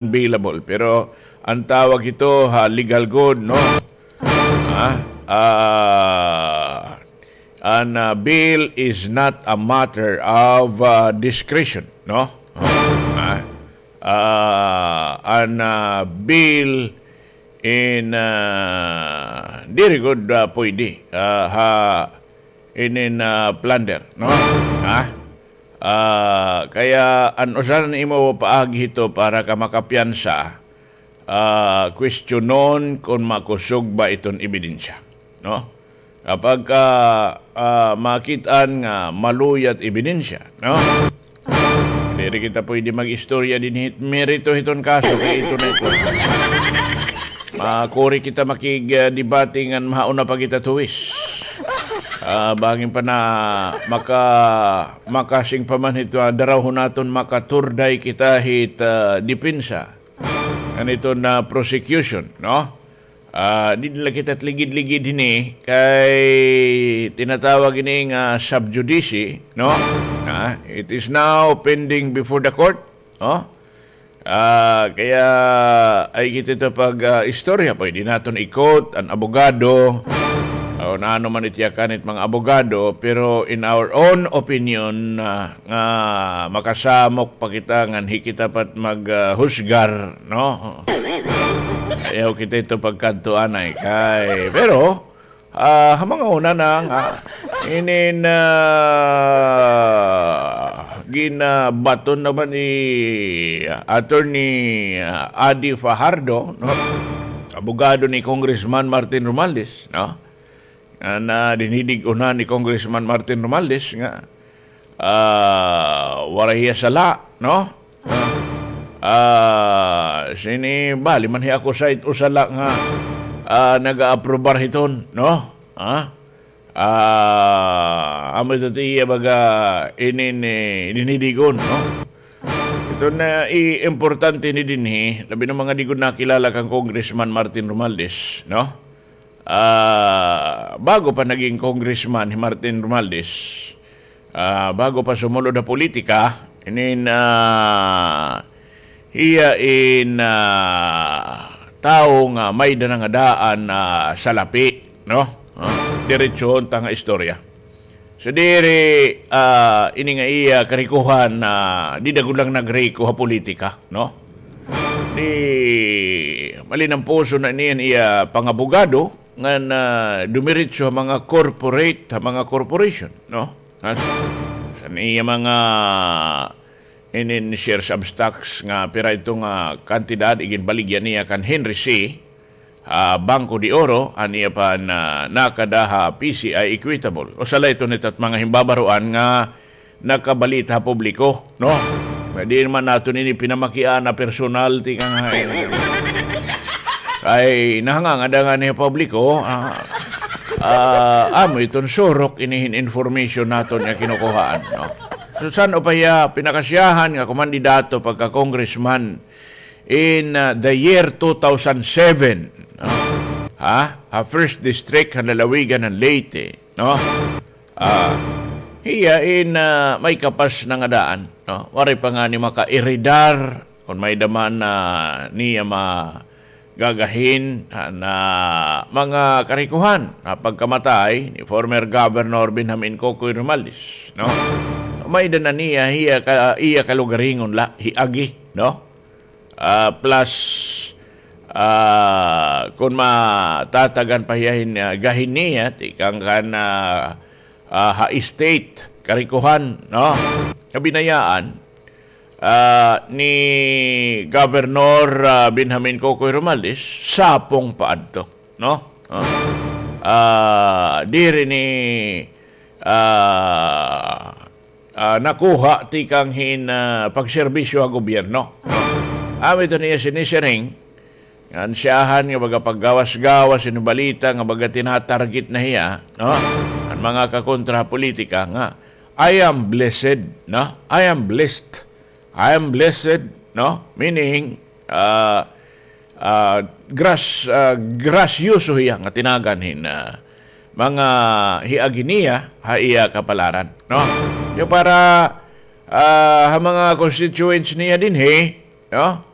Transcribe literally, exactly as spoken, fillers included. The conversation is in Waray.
bailable. Pero an tawag hito ha legal gud, no? Ha? Ah, an, ah, bail is not a matter of, ah, discretion, no? Ha? Ah, an, ah, bail in, ah, diri gud, ah, pwede, ah, ha, inin, ah, plunder, no? Ha? Ah, kaya an usa han imo paagi hito para ka makapiyansa, ah, kwestiyonon kon makusog ba iton ebidensya, no? Kapag ka, ah, makit-an nga maluyat ebidensya, no? Diri kita pwede mag-istorya dinhi hit merito hiton kaso, kay ito na ito. Makuri kita makig, ah, debate ngan mahauna pa kita tuwis. Ah, bangin pa na maka-, makasing pa man hito, ah, darawhon naton makaturday kita hit, ah, depensa. Ngan iton prosecution, no? Ah, di na la kita ligid-ligid hini kay tinatawag ini nga sub judice, no? Ah, it is now pending before the court, no? Ah, kaya ay kita ito pag, ah, istorya, pwede naton i-quote an abogado, o nano man it yakan it mga abogado, pero in our own opinion, ah, nga makasamok pa kita ngan hi kita pa it mag, ah, husgar, no? Ayaw kita ito pagkadto anay kay. Pero, ah, ha mga una na nga, inin, ah, ginabaton naman ni Attorney, ah, Adi Fajardo, no? Abogado ni Congressman Martin Romualdez, no? Nga na dinidig-unan ni Congressman Martin Romualdez nga, ah, waray hiya sala, no? Ah, sini bali man hiya ako sa it usa la nga, ah, naga-aprobar hiton, no? Ha? Ah, amo ito ti iya baga inin, eh, dinidigon, no? Ito na i-, importante ni dinhi, labi na mga di gud nakilala kan Congressman Martin Romualdez, no? Ah, bago pa naging congressman hi Martin Romualdez, ah, bago pa sumulod ha politika, inin, ah, hiya in, ah, tawo nga may-ada na nga daan, ah, salapi, no? Ah, diretsohon ta nga istorya. So, diri, ah, ini nga iya karikohan na di dagul lang nagriko ha politika, no? Di malinampuson na ini an iya pangabogado ngan, ah, dumiretso ha mga corporate, ha mga corporation, no? Sa, sa iya mga inin shares of stocks nga pira ito nga kantidad iginbaligya niya kan Henry Sy, ah, Banco de Oro, an iya pa na nakada ha P C I Equitable. Usa la ito nito hit mga himbabaroan nga nakabalita ha publiko, no? Nga di man naton ini pinamakiana personal, tikang hay. Ay, nahangangada ngani ha publiko, ah, ah, amo iton surok ini hin information naton nga kinukuhaan, no? So, san-o pa hiya pinakasyahan nga kumandidato pagka-congressman in, ah, the year two thousand seven, no? Ha? Ha first district, ha lalawigan han Leyte, no? Ah, hiya in, ah, may kapas na nga daan, no? Waray pa ngani maka-eredar, kon may-ada man, ah, niya ma-, gagahin, ah, na mga karikohan, ah, pagkamatay ni former Governor Benjamin Cocoy Romualdez, no? May-ada na niya, hiya ka, iya kalugaringon la, hiagi, no? Ah, plus, ah, kon matatagan pa hiya hin, ah, gahin niya, tikang kan, ah, ah, ha estate, karikohan, no? Kabinayaan, ah, ni Governor, ah, Benjamin Cocoy Romualdez, sapong pa adto, no? Ah, ah, diri ni, ah, ah, nakuha tikang hin, ah, pagserbisyo ha gobyerno, no? Amo ito niya sinisiring, ngan siyahan nga baga paggawas-gawas hin balita nga baga tinatarget na hiya, no? An mga kakontra ha politika nga, "I am blessed," no? "I am blessed. I am blessed," no? Meaning, ah, ah, gras-, ah, grasyoso hiya nga tinagan hin, ah, mga hiagi niya ha iya kapalaran, no? Kay para, ah, ha mga constituents niya dinhi, no?